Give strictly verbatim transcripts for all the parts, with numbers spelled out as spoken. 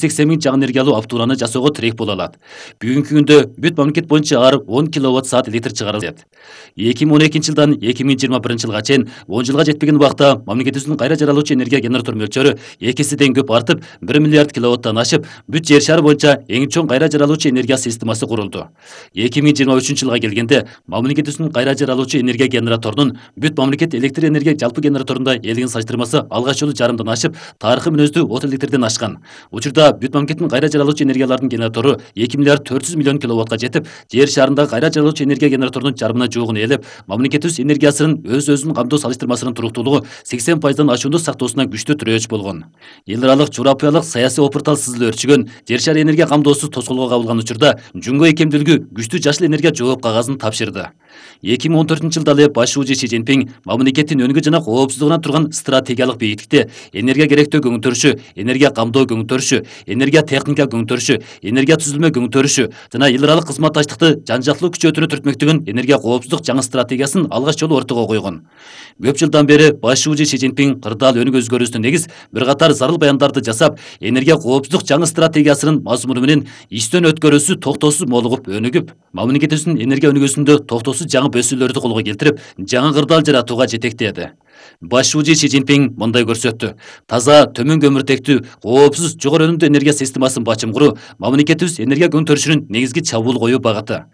сексен миң жаңы энергиялуу автоунааны жасоого тирек боло алат. Бүгүнкү күндө бүт мамлекет боюнча ар он киловатт саат электр чыгарылат. эки миң он экинчи жылдан эки миң жыйырма биринчи жылга чейин он жылга жетпеген убакта мамлекетибиздин кайра жаралуучу энергия генератор мөлчөрү эки эседен көп артып, бир миллиард киловаттан ашып, бүт жер шары боюнча эң чоң кайра жаралуучу энергия системасы курулду. эки миң жыйырма үчүнчү жылга келгенде мамлекетибиздин кайра жаралуучу энергия генераторунун бүт мамлекет электр энергия жалпы генераторунда элдигин салыштырмасы алгач жолу жарымдан ашып, тарыхый мүнөздүү от электрден ашкан. Учурда бүт мамлекеттин кайра жаралуучу энергиялардын генератору эки миллиард төрт жүз миллион киловаттка жетип, жер шарындагы кайра жаралуучу энергия генераторунун жарымына жуugун ээлеп, мамлекетибиз энергиясынын өз-өзүн камтоо салыштырмасынын туруктуулугу сексен пайыздан ашуунду сактоосуна күчтүү тирөөч болгон. Эл аралык журапыялык саясий опуртал сызылып өрчүгөн, жер шары энергия камдоосу тоскоолго кабылган учурда жумго икемдүүлүгү күчтүү жашыл энергия жооп кагазын тапшырды. эки миң он төртүнчү жылда эле башчы Си Цзиньпин мамлекеттин өнүгүү жана коопсуздугуна турган стратегиялык бейиктикте энергия керектөө көңүтөрүшү, энергия камдоо көңүтөрүшү, энергия техника көңүтөрүшү, энергия түзүлмө көңүтөрүшү жана эл аралык кызматташтыкты жан-жактылуу күчөтүүнү түртмөктөгөн энергия коопсуздук жаңы стратегиясын алгач жолу ортого койгон. Көп жылдан бери башчы Си Цзиньпин кырдаал өнүгүү өзгөрүүсүнө негиз бир катар зарыл баяндарды жасап, энергия коопсуздук жаңы стратегиясынын мазмуну менен истен өткөрүүсү токтоосуз молугуп өнүгүп, мамлекетибиздин энергия өнүгүүсүндө токтоосуз жаңы бөсүүлөрдү колго келтирип, жаңы кырдаал жаратууга жетектеди. Башчы Си Цзиньпин мындай көрсөттү: таза, төмөн көмүртектүү, коопсуз, жогору өнүмдүү энергия системасын бачым куруу мамлекетибиз энергия көңүтөрүшүнүн негизги чабуул коюу багыты.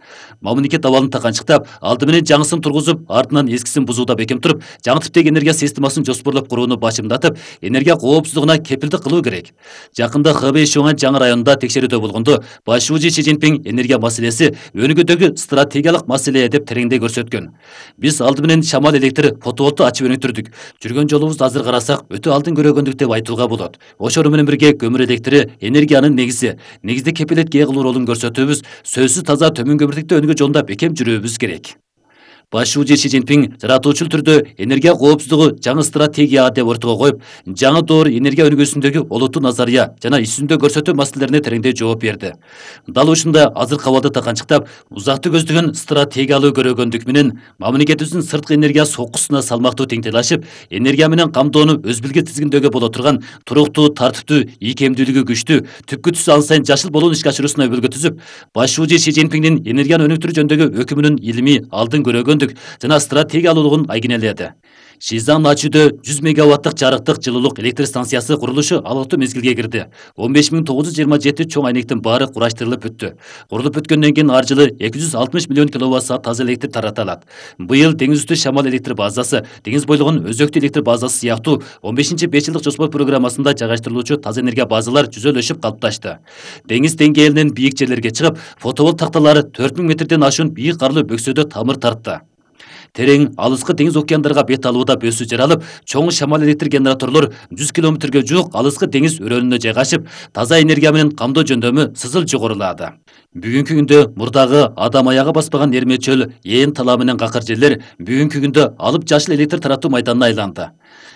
Мамлекет абалын таканчыктап, алды менен жаңысын тургузуп, артынан эскисин бузууда бекем туруп, жаңы типтеги энергия системасын жоспорлоп курууну бачымдатып, энергия коопсуздугуна кепилдик кылуу керек. Жакында Хэбэй Шуңан жаңы районунда текшерүүдө болгондо башчы Си Цзиньпин энергия маселеси өнүгүүдөгү стратегиялык маселе деп тереңдей көрсөткөн. Биз алды менен шамал электр фотоволтту ачып өнүктүрдүк. Жүргөн жолубузду азыр карасак, өтө алдын көрөгөндүк деп айтууга болот. Ошону менен бирге көмүр электри энергиянын негизи, негизде кепилетке ээ кылуу ролун көрсөтүүбүз, сөзсүз таза төмөн көмүртектүү өнүгүү жолунда бекем жүрүүбүз керек. Башчы Си Цзиньпин жаратуучул түрдө энергия коопсуздугу жаңы стратегия деп ортого коюп, жаңы доор энергия өнүгүүсүндөгү олуттуу назария жана иш жүзүндө көрсөтүү маселелерине тереңдей жооп берди. Дал ушундай азыркы абалды таканчыктап, узакты көздөгөн стратегиялуу көрөгөндүк менен мамлекетибиздин сырткы энергия соккусуна салмактуу теңтелашып, энергия менен камдоону өз билге тизгиндөөгө боло турган туруктуу, тартиптүү, ийкемдүүлүгү күчтүү, түпкү түсү ал сайын жашыл болуун ишке ашыруусуна өбөлгө түзүп, башчы Си Цзиньпиндин энергияны өнүктүрүү жөнүндөгү өкүмүнүн илимий, алдын көрөгөн жана стратегиялуулугун айгинеледи. Шизан Ачүдө жүз мегаваттык жарыктык жылуулук электр станциясы курулушу алыктуу мезгилге кирди. он беш миң тогуз жүз жыйырма жети чоң айнектин баары кураштырылып бүттү. Курулуп бүткөндөн кийин ар жылы эки жүз алтымыш миллион киловатт саат таза электр таратылат. Быйыл деңиз үстү шамал электр базасы, деңиз бойлогон өзөктүү электр базасы сыяктуу он бешинчи беш жылдык жоспор программасында жайгаштырылуучу таза энергия базалар жүзөлөшүп калыпташты. Деңиз деңгээлинен бийик жерлерге чыгып, фотоволт такталары төрт миң метрден ашуун бийик карлуу бөксөдө тамыр тартты. Терең, алыскы деңиз океандарга бет алууда бөсүү жаралып, чоң шамал электр генераторлор жүз километрге жуук алыскы деңиз өрөөнүнө жайгашып, таза энергия менен камдоо жөндөмү сызыл жогорулады. Бүгүнкү күндө мурдагы адам аягы баспаган эрме чөл, ээн талаа менен какыр жерлер бүгүнкү күндө алып жашыл электр таратуу майданына айланды.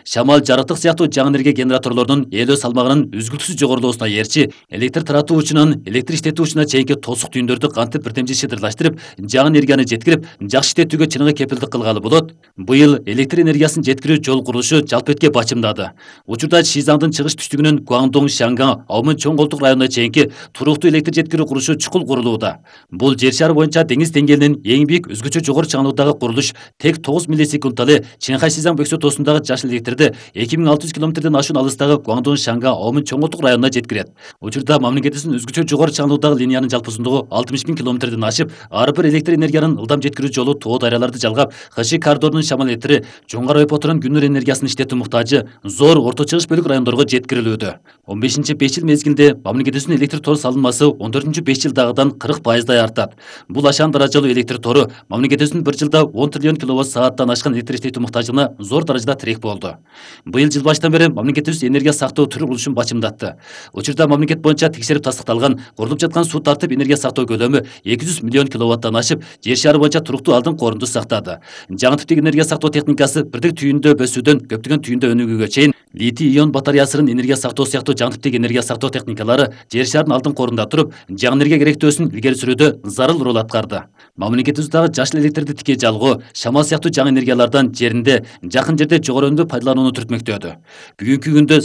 Шамал, жарыктык сыяктуу жаңы энергия генераторлорунун ээлөө салмагынын үзгүлтүсүз жогорулоосуна эрчи, электр таратуу учунан электр иштетүү учуна чейинки тосук түйүндөрдү кантип бирдемчи шыдырлаштырып, жаңы энергияны жеткирип, жакшы иштетүүгө чыныгы кепилдик кылгалы болот. Быйыл электр энергиясын жеткирүү жол курулушу жалпетке бачымдады. Учурда Шизандын чыгыш түштүгүнөн Гуандong, Шанган, Аумын чоң колтук районуна чейинки туруктуу электр жеткирүү курулушу чукул курулууда. Бул жер шары боюнча деңиз деңгээлинен эң бийик өзгөчө жогору чаңдуудагы курулуш тек тогуз миллисекундта эле Чэнхай Шизан бөксө тоосундагы жашыл электрди эки миң алты жүз километрден ашуун алыстагы Гуандong, Шанган, Аумын чоң колтук районуна жеткирет. Учурда мамлекетибиздин өзгөчө жогору чаңдуудагы линиянын жалпы узундугу алтымыш миң километрден ашып, ар бир электр энергиянын ылдам жеткирүү жолу тоо дарыяларды жалгап, Хаши коридорунун шамал электри жоңгар ойпотунун күнүр энергиясын иштетүү муктажы зор орто чыгыш бөлүк райондорго жеткирилүүдө. он бешинчи беш жыл мезгилинде мамлекетибиздин электр тор салынмасы он төртүнчү беш жылдагыдан кырк пайыздай артат. Бул ашаан даражалуу электр тору мамлекетибиздин бир жылда он триллион киловатт сааттан ашкан электр иштетүү муктажына зор даражада тирек болду. Быйыл жыл башынан бери мамлекетибиз энергия сактоо түрү курулушун бачымдатты. Учурда мамлекет боюнча текшерип тастыкталган курулуп жаткан суу тартып энергия сактоо көлөмү эки жүз миллион киловаттан ашып, жер шары боюнча туруктуу алдын корунду сактады. Жаңы типтеги энергия сактоо техникасы бирдик түйүндө бөсүүдөн көптөгөн түйүндө өнүгүүгө чейин литий ион батареясынын энергия сактоо сыяктуу жаңы типтеги энергия сактоо техникалары жер шарынын алдын корунда туруп, жаңы энергия керектөөсүн илгери сүрүүдө зарыл роль аткарды. Мамлекетибиздагы жашыл электрди тикей жалгоо, шамал сыяктуу жаңы энергиялардан жеринде, жакын жерде жогору өнүмдүү пайдаланууну түртмөктөдү. Бүгүнкү күндө